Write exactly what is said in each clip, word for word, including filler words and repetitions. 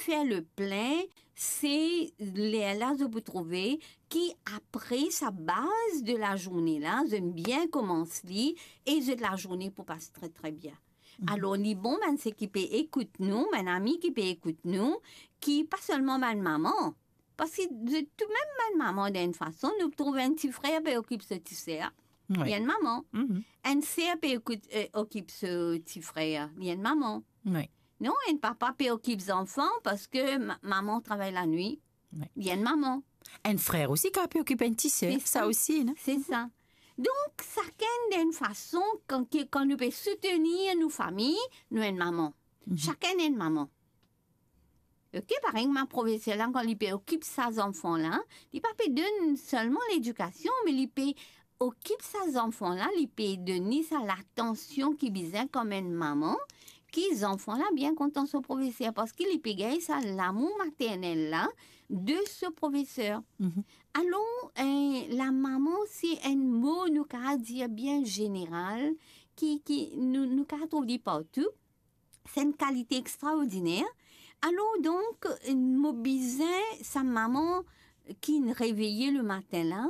fer le plin, se lerla zot pou trouve ki apre sa baz de lazourne la, zot bien koumans li e zot lazourne pou pas tre, tre bien. Mhm. Alor, li bon bann seki pe ekout nou, bann ami ki pe ekout nou, ki pa selman bann mama, parski zot tou mem bann mama, dan enn fason, nou trouv enn ti frer pe okip so ti ser, Wi. li enn mama. Mhm. Enn ser pe ekout, eh, okip so ti frer, li enn mama. Wi. Non, enn papa pe okip zanfan parski ma-, mama travay lanwit, Wi. li enn mama. Enn frer osi kapav pe okip enn ti ser, Se sa sa. osi, non? Se sa. Donk, sakenn dan enn fason, kan, ki, kan nou pe soutenir nou fami, nou enn mama. Mhm. Sakenn enn mama. Ok, parey mo profeser la, kan li pe okip sa zanfan la, li pa pe donn selman ledikasion, me li pe okip sa zanfan la, li pe donn li sa latansion ki bizin kouma enn mama, ki zanfan la bien kontan so profeser, parski li pe gagn sa lamour maternel la de so profeser. Mhm. Alor, eh, lamama, se enn mo nou kapav dir bien zeneral, ki, ki nou, nou kapav trouv li partou. Se enn kalite extraordiner. Alor donk, mo bizin sa mama ki'nn reveye le matin la,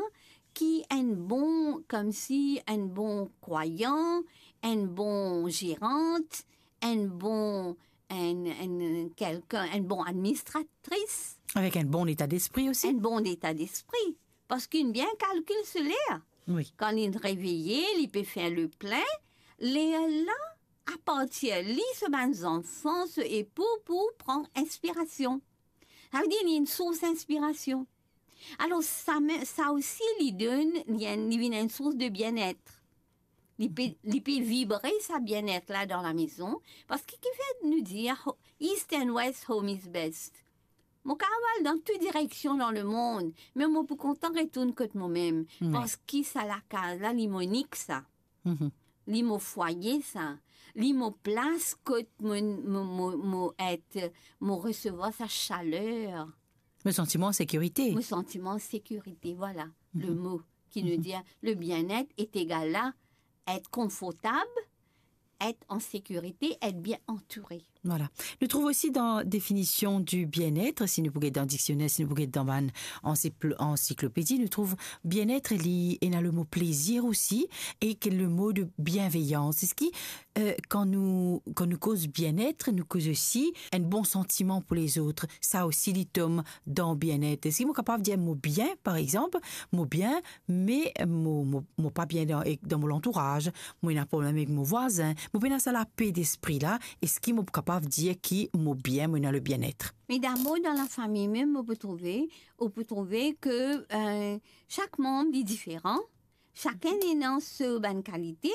ki enn bon, koumsi enn bon krwayan, enn bon zerant, enn bon, enn, enn, kelkenn, enn bon administratris. Avek enn bon leta lespri osi. Enn bon leta lespri. Parski li bien kalkil so ler. Wi. Kan li'nn reveye, li pe fer le plin, lerla, apartir li, so bann zanfan, so epou pou pran inspirasion. Savedir li enn sours inspirasion. Alor, sa me-, sa osi li donn, li enn, li vinn enn sours de bienet. Li pe, li pe vibre sa bienet la dan lamezon, parski kifer nou dir ho-, East and West, home is best. Mo kapav al dan tou direksion dan lemond, me mo pou kontan retourn kot momem, Wi. parski sa lakaz la, li mo nik sa. Mhm. Li mo fwaye sa. Li mo plas kot mo, mo, mo, mo et, mo resevwar sa saler. Mo santi mwa an sekirite. Mo santi mwa an sekirite, vwala, le Mhm. mo ki nou Mhm. dir, le bien-être est égal à être confortable, être en sécurité, être bien entouré. Vwala. Nou trouv osi dan definision du bien-être, si nou pou get dan diksioner, si nou pou get dan bann ansiklo-, ansiklopedi, nou trouv bien-être, li ena le mo plezir osi, ek le mo de bienveyans. Eski, eh, kan nou, kan nou koz bien-être, nou koz osi enn bon santiman pou lezot? Sa osi, li tom dan bien-être. Eski mo kapav dir mo bien, par exanp, mo bien, me mo, mo, mo pa bien dan, ek dan mo lantouraz, mo ena problem ek mo vwazin, mo pena sa lape despri la, eski mo kapav dir ki mo bien, mo ena le bien-être? Me dabor, dan lafami mem, ou pou trouve, ou pou trouve ke, eh, sak manb li diferan, sakenn ena so bann kalite,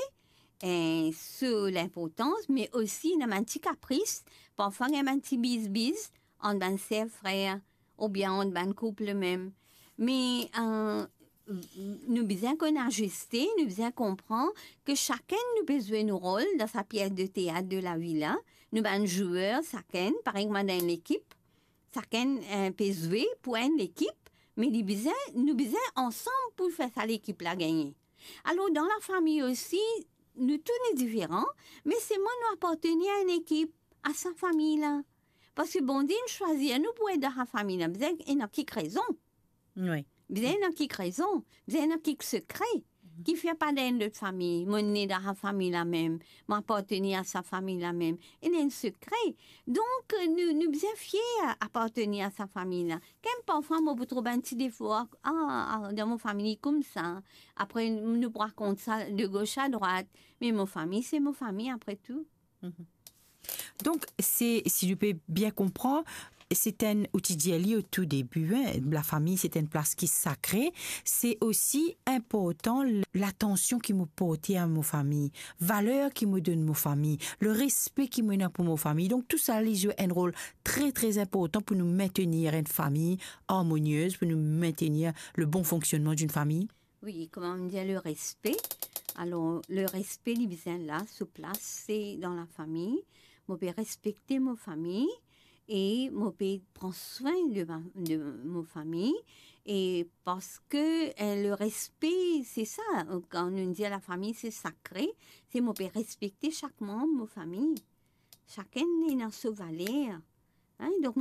eh, so linportans, me osi ena bann ti kapris, parfwa ena bann ti bizbiz ant bann ser frer, oubien ant bann koup mem. Me, eh, nou bizin konn aziste, nou bizin konpran ke sakenn nou pe zwe nou rol dan sa pies de teat de lavi la. Nou bann zwer, sakenn, parey mwa dan enn lekip, sakenn, eh, pe zwe pou enn lekip, me li bizin, nou bizin ansam pou fer sa lekip la gagne. Alor, dan lafami osi, nou tou nou diferan, me selman nou apartenir a enn ekip, a sa fami la. Parski Bondie inn swazir nou pou et dan sa fami la, bizin ena kik rezon. Wi. Bizin ena kik rezon, bizin ena kik sekre. Mhm. Kifer pa dan enn lot fami, mo ne dan sa fami la mem, mo apartenir a sa fami la mem. Ena enn sekre. Donk, nou, nou bizin fier apartenir a sa fami la. Kem parfwa mo pou trouv bann ti defo, a, a, dan mo fami koumsa. Apre, nou pou rakont sa de gos a drwat. Me mo fami, se mo fami apre tou. Mhm. Donk, se, si nou pe bien konpran, se enn, ou ti dir li o tou debi, en, lafami, se enn plas ki sakre. Se osi inportan l-, latansion ki mo porte a mo fami, valer ki mo donn mo fami, le respe ki mo ena pou mo fami. Donk, tou sa, li zwe enn rol tre, tre inportan pou nou maintenir enn fami armoniez, pou nou maintenir le bon fonksionnman d'une famille. Wi, kouma nou dir, le respe. Alor, le respe, li bizin la, so plas, se dan lafami. Mo pe respekte mo fami e mo pe pran swin de ma, de mo fami. E parski, eh, le respe, se sa, kan nou dir lafami, se sakre, se mo pe respekte sak manb mo fami. Sakenn ena so valer. En, donk,